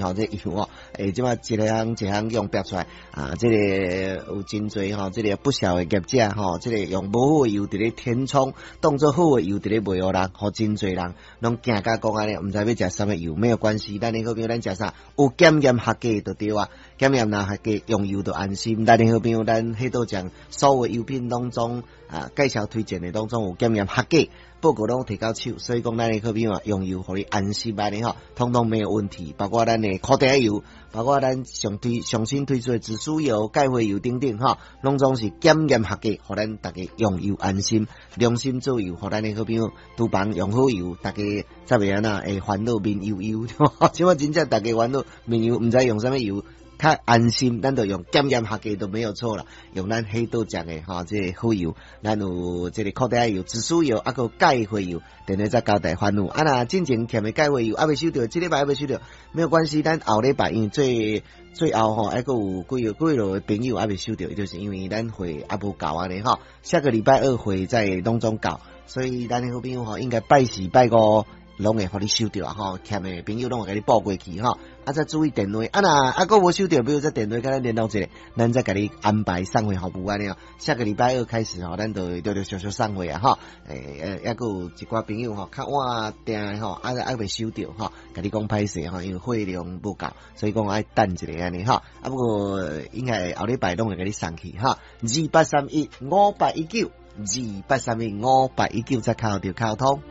吼，這油吼，這擺一項一項用標出來啊，這個有真濟吼，這個不肖的業者吼，這個用無好的油佇咧填充，當做好的油佇咧賣予人，予真濟人攏驚甲講按呢，毋知欲食啥物油，沒有關係，咱的好朋友咱食啥有檢驗合格就對啊，檢驗若合格用油就安心。咱的好朋友咱彼道將所有油品當中啊，介紹推薦的當中有檢驗合格，報告攏提到手，所以講咱的好朋友啊，用油予你安心按呢吼，統統沒有問題。包括咱的苦茶油，包括咱上推上新推出的紫蘇油、鈣花油等等吼，攏總是檢驗合格，予咱大家用油安心，良心做油，予咱的好朋友廚房用好油，大家才袂按怎會煩惱面油油。這擺真正大家煩惱面油，毋知用啥物油。較安心，咱就用檢驗合格都沒有錯啦。用咱彼道醬的吼，這個好油，咱有這個苦茶油、紫蘇油，猶閣鈣花油，電話再交代煩惱。啊，若進前欠的鈣花油猶未收著，這禮拜猶未收著，沒有關係，咱後禮拜因為最最後吼，猶閣有幾個幾落的朋友猶未收著，就是因為咱貨猶無夠按呢吼。下個禮拜二貨再攏總到，所以咱的好朋友吼，應該拜四拜五攏會予你收著啊吼，欠的朋友攏會共你報過去吼。啊，再注意電話，啊若猶閣無收著，比如說電話共咱聯絡一下，咱再共你安排送貨服務按呢哦。下個禮拜二開始吼，咱就陸陸續續送貨啊吼。猶閣有一寡朋友吼，較晚訂吼，啊猶未收著吼，共你講歹勢吼，因為貨量無夠，所以講愛等一下按呢吼。啊，不過應該後禮拜攏會共你送去哈。28315819，28315819，再敲就敲通。